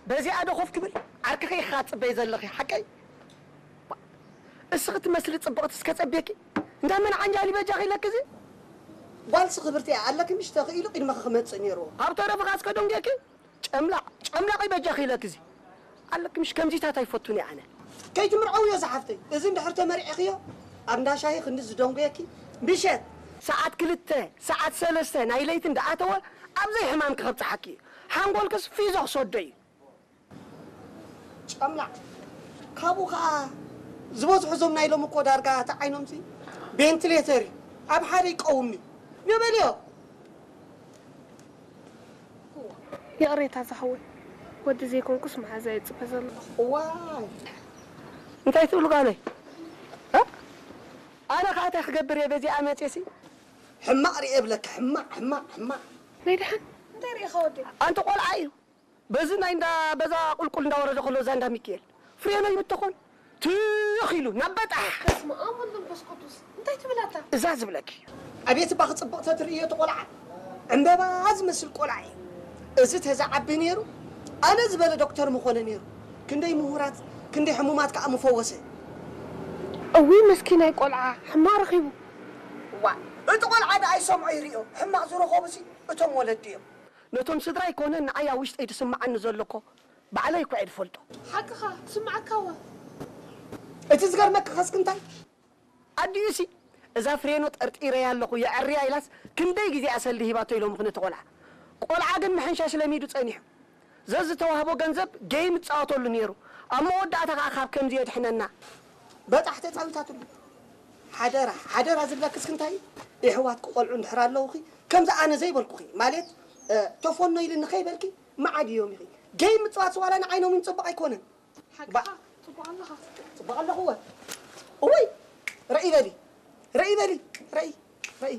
በዚኣ ዶ ኮፍ ክብል? ዓርክኺ ኢኻ ትጽበይ ዘለኺ፣ ሓቀይ? እስኺ ትመስሊ ጽብቕቲ እስከ ጸብየኪ። እንዳ መን ዓንጃል ይበጃኺ ኢለኪ እዚ? ጓልሲ ክብርቲ እያ ኣለኪ፣ ምሽ ተኽኢሉ ቅድመኺ ክመጽእ ነይርዎ። ኣብ ተረፍኻ እስከ ደንጉየኪ። ጨምላቕ፣ ጨምላቕ ይበጃኺ ኢለኪ እዚ። ኣለኪ ምሽ ከምዚታት ኣይፈቱን እየ ኣነ። ከይትምርዐውዮ ዝሓፍተይ። እዚ እንድሕር ተመሪዕኽዮ፣ ኣብ እንዳ ሻሂ ክንዲ ዝደንጉየኪ፣ ምሸት ሰዓት ክልተ፣ ሰዓት ሰለስተ ናይ ለይቲ እንዳኣተወ ኣብ ዘይሕማምኪ ከብጽሓኪ እዩ። ሓንጎልክስ ፊዞ ክሰዶ እዩ። ጨምላቕ። ካብኡ ኸዓ ዝበዝሑ እዞም ናይ ሎሚ እኮ ዳርጋ እቲ ዓይኖምሲ ቬንትሌተር እዩ። ኣብ ሓደ ይቀውም እዩ። ንበልዮ። ይቕሬታ ዝሓወይ፣ ወዲ ዘይኮንኩስ መሓዛ እየ ዝጽበ ዘለኹ። እዋይ፣ እንታይ ትብሉ ጓለይ? እ? ኣነ ኸዓ እንታይ ክገብር እየ በዚኣ መፅየሲ? ሕማቕ ርኤ እብለካ፣ ሕማቕ፣ ሕማቕ፣ ሕማቕ። ናይ ደሓን እንታይ ርኢኻ ወዲ? ኣንቲ ቆልዓ እዩ። በዚ ናይ እንዳ በዛ ቁልቁል እንዳወረደ ከሎ እዛ እንዳ ሚካኤል ፍሬኖ ይብተኾን ትኽ ኢሉ ናብ በጣሕ። በስመ ኣብ ወወልድ ወመንፈስ ቅዱስ። እንታይ ትብል ኣታ? እዛ ዝብለኪ። ኣቤት እባ ክጽብቕ ተትርእዮ እቲ ቆልዓ። ዕምበባ ዝመስል ቆልዓ እዩ። እዚ ተዝዓቢ ነይሩ ኣነ ዝበለ ዶክተር ምኾነ ነይሩ። ክንደይ ምሁራት ክንደይ ሕሙማት ከኣ ምፈወሰ። እውይ መስኪናይ ቆልዓ ሕማቕ ረኺቡ። ዋ እቲ ቆልዓ ደኣ ይሰምዖ ይርእዮ። ሕማቕ ዝረኸቡሲ እቶም ወለዲ እዮም። ነቶም ስድራይ ኮነ ንዓይ ኣብ ውሽጠይ ዝስምዓኒ ዘሎ እኮ ባዕለይ እኮ እየ ዝፈልጦ። ሓቅኻ ትስምዓካ እዋ። እቲ ዝገርመኪ ከስኪ እንታይ ኣዲኡሲ እዛ ፍሬኖ ጠርጢረያ ኣለኹ የዐርያ ኢላስ ክንደይ ግዜ እያ ሰልዲ ሂባቶ ኢሎምኺ ነቲ ቆልዓ። ቆልዓ ግን ምሕንሻሽ ለሚዱ ጸኒሑ። ዘዝተዋህቦ ገንዘብ ጌይም ይጻወተሉ ነይሩ። ኣብ መወዳእታ ከኣ ካብ ከምዚ የድሕነና። በጣሕ ተጻዊታትሉ። ሓደራ ሓደራ ዝብለኪ እስኪ እንታይ እዩ? የሕዋትኪ ቆልዑ እንድሕር ኣለዉኺ ከምዚ ኣነ ዘይበልኩኺ ማለት ተፎኖ ኢልኒ ከይበልኪ መዓድ እዮም ኢኺ። ጌይም ምጽዋት ዋላ ንዓይኖም እውን ጽቡቕ ኣይኮነን። ሓቅኻ ጽቡቕ ኣለኻ። ጽቡቕ ኣለኹ እወ። እወይ ርኣይ በሊ ርኣይ በሊ ርኣይ ርኣይ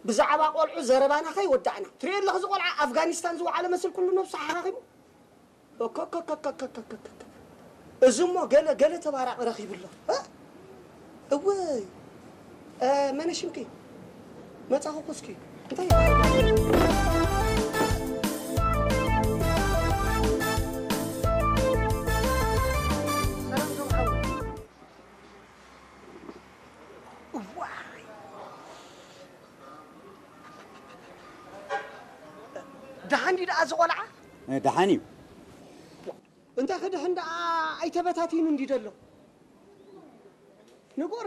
ብዛዕባ ቆልዑ ዘረባና ከይወዳእና ትሪኦ ኣለኺ እዚ ቆልዓ ኣፍጋኒስታን ዝወዓለ መስል ኩሉ ነብሱ ሓኻኺሙ። እኮ እኮ እኮ እኮ እኮ እኮ እኮ እኮ። እዚ እሞ ገለ ገለ ተባራቒ ረኺቡ ኣሎ። እ? እወይ እ፣ መነ ሽምኪ? መጻኹ ኩስኪ። እንታይ ይበሃል? ሰላም ቶም ሓወይ። እዋይ። ደሓን ድዩ ደኣ እዚ ቆልዓ? እ፣ ደሓን እዩ። እንታይ ክድሕን ደኣ ኣይተበታቲኑ እንዲ ዘሎ? ንጎር